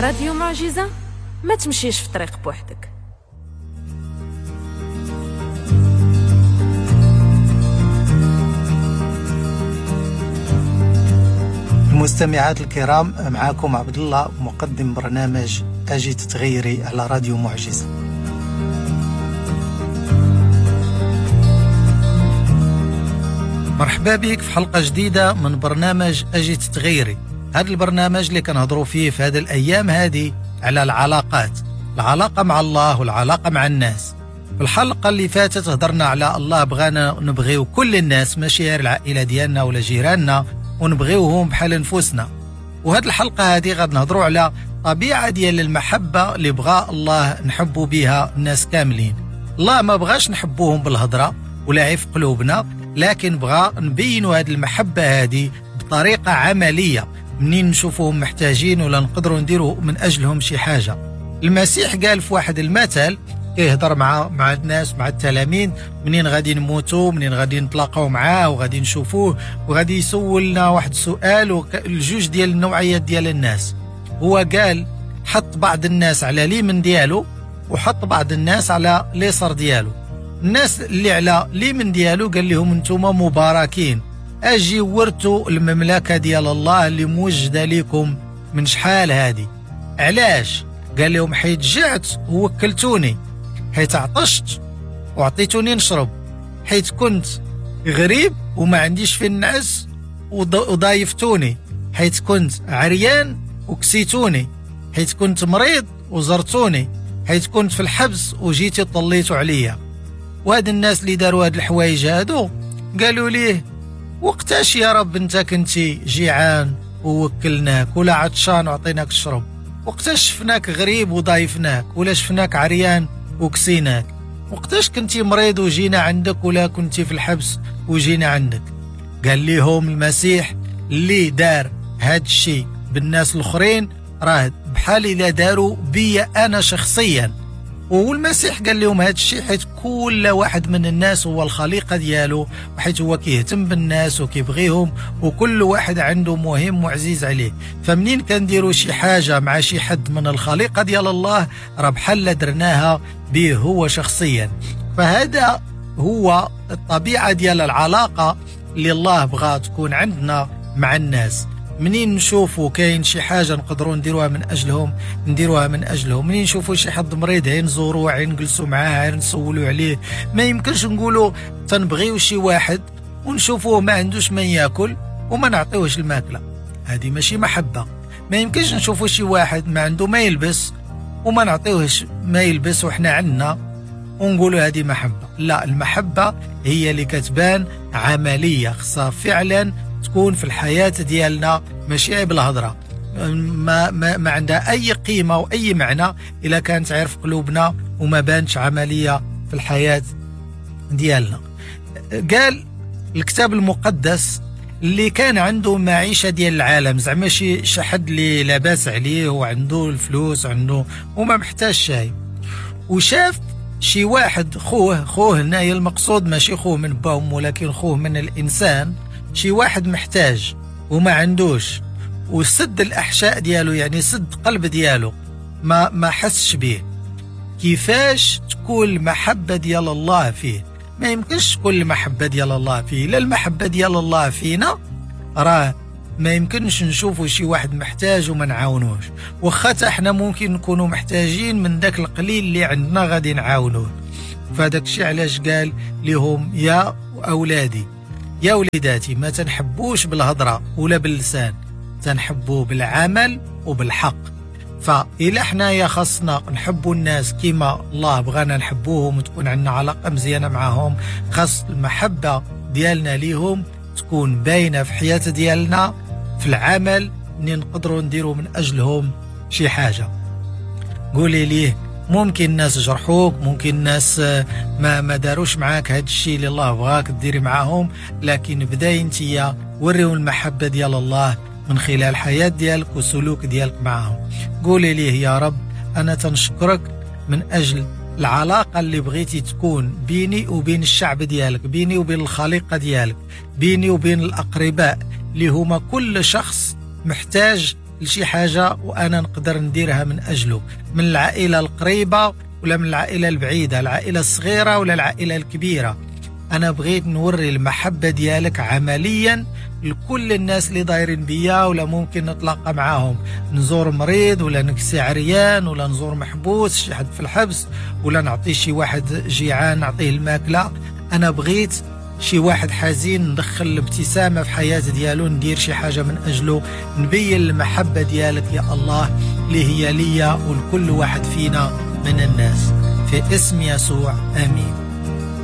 راديو معجزة، ما تمشيش في طريق بوحدك. المستمعات الكرام، معاكم عبد الله مقدم برنامج أجي تتغيري على راديو معجزة. مرحبا بك في حلقة جديدة من برنامج أجي تتغيري. هذا البرنامج اللي كنهضروا فيه في هذه الأيام هذه على العلاقات، العلاقة مع الله والعلاقة مع الناس. في الحلقة اللي فاتت هضرنا على الله بغانا نبغيو كل الناس، ماشي غير العائلة ديالنا ولا جيراننا، ونبغيوهم بحال نفوسنا. وهاد الحلقة هذه غاد نهضروا على طبيعة ديال المحبة اللي بغى الله نحبوا بها الناس كاملين. الله ما بغاش نحبوهم بالهضرة ولا عيف قلوبنا، لكن بغى نبينوا هاد المحبة هذه بطريقة عملية، منين نشوفوهم محتاجين ولا نقدروا نديروا من أجلهم شي حاجة. المسيح قال في واحد المثل كيهضر مع الناس، مع التلاميذ، منين غادي نموتوا، منين غادي نتلاقاو معاه وغادي نشوفوه، وغادي يسولنا واحد السؤال الجوج ديال النوعيات ديال الناس. هو قال حط بعض الناس على اليمين ديالو وحط بعض الناس على اليسار ديالو. الناس اللي على اليمين ديالو قال لهم انتم مباركين، اجي ورثوا المملكة ديال الله اللي موجدة لكم من شحال هادي. علاش؟ قال لهم حيت جعت ووكلتوني، حيت عطشت وعطيتوني نشرب، حيت كنت غريب وما عنديش فين نعس وضايفتوني، حيت كنت عريان وكسيتوني، حيت كنت مريض وزرتوني، حيت كنت في الحبس وجيتي طليتوا عليا. وهاد الناس اللي داروا هاد الحوايج هادو قالوا ليه وقتاش يا رب انت كنتي جيعان ووكلناك، ولا عطشان وعطيناك الشرب؟ وقتاش شفناك غريب وضايفناك، ولا شفناك عريان وكسيناك؟ وقتاش كنتي مريض وجينا عندك، ولا كنتي في الحبس وجينا عندك؟ قال لهم المسيح اللي دار هاد الشيء بالناس الاخرين راه بحال الا داروا بيا انا شخصيا. والمسيح قال لهم هاد الشيء حيت كل واحد من الناس هو الخليقة ديالو، وحيت هو كيهتم بالناس وكيبغيهم، وكل واحد عنده مهم وعزيز عليه. فمنين كنديروا شي حاجة مع شي حد من الخليقة ديال الله راه بحال درناها به هو شخصيا. فهذا هو الطبيعة ديال العلاقة اللي الله بغى تكون عندنا مع الناس. منين نشوفوا كاين شي حاجة نقدروا نديروها من أجلهم نديروها من أجلهم. منين نشوفوا شي حد مريض عين نزوروه، عين نجلسوا معاه، عين نسولوا عليه. ما يمكنش نقولوا تنبغيو شي واحد ونشوفوه ما عندوش ما ياكل وما نعطيوهش الماكلة، هذه ماشي محبة. ما يمكنش نشوفوا شي واحد ما عنده ما يلبس وما نعطيوهش ما يلبس وحنا عندنا ونقولوا هذه محبة. لا، المحبة هي اللي كتبان عملية، خصها فعلا تكون في الحياة ديالنا، ماشي عيب الهضرة. ما, ما, ما عندها أي قيمة وأي معنى إلا كانت عرف قلوبنا وما بانش عملية في الحياة ديالنا. قال الكتاب المقدس اللي كان عنده معيشة ديال العالم، زعما شي حد اللي لاباس عليه وعنده الفلوس عنده وما محتاج شيء، وشاف شي واحد خوه هنايا المقصود ماشي خوه من باهم ولكن خوه من الإنسان، شي واحد محتاج وما عندوش، وسد الأحشاء ديالو، يعني سد قلب ديالو، ما حسش به. كيفاش تكون المحبة ديال الله فيه؟ ما يمكنش تكون المحبة ديال الله فيه. لا، المحبة ديال الله فينا راه ما يمكنش نشوفوا شي واحد محتاج وما نعاونوش، واخا حتى حنا ممكن نكونوا محتاجين من داك القليل اللي عندنا غادي نعاونوه. فداك الشيء علاش قال لهم يا أولادي يا وليداتي ما تنحبوش بالهضرة ولا باللسان، تنحبوا بالعمل وبالحق. فإلا حنايا خاصنا نحبوا الناس كما الله بغانا نحبوهم وتكون عندنا علاقة مزيانة معهم، خاص المحبة ديالنا ليهم تكون باينة في حياة ديالنا، في العمل اللي نقدروا نديروا من أجلهم شي حاجة. قولي ليه ممكن الناس جرحوك، ممكن الناس ما داروش معاك هاد الشيء اللي الله بغاك ديري معاهم، لكن بداي انتيا وريهم المحبة ديال الله من خلال حياة ديالك وسلوك ديالك معاهم. قولي ليه يا رب أنا تنشكرك من أجل العلاقة اللي بغيتي تكون بيني وبين الشعب ديالك، بيني وبين الخليقة ديالك، بيني وبين الأقرباء اللي هما كل شخص محتاج لشي حاجة وأنا نقدر نديرها من أجله، من العائلة القريبة ولا من العائلة البعيدة، العائلة الصغيرة ولا العائلة الكبيرة. أنا بغيت نوري المحبة ديالك عمليا لكل الناس اللي دايرين بيا ولا ممكن نتلاقى معاهم، نزور مريض ولا نكسي عريان ولا نزور محبوس شي حد في الحبس ولا نعطي شي واحد جيعان نعطيه الماكلة. أنا بغيت شي واحد حزين ندخل الابتسامة في حياة ديالو، ندير شي حاجة من أجله، نبين المحبة ديالك يا الله اللي هي ليا ولكل واحد فينا من الناس. في اسم يسوع آمين.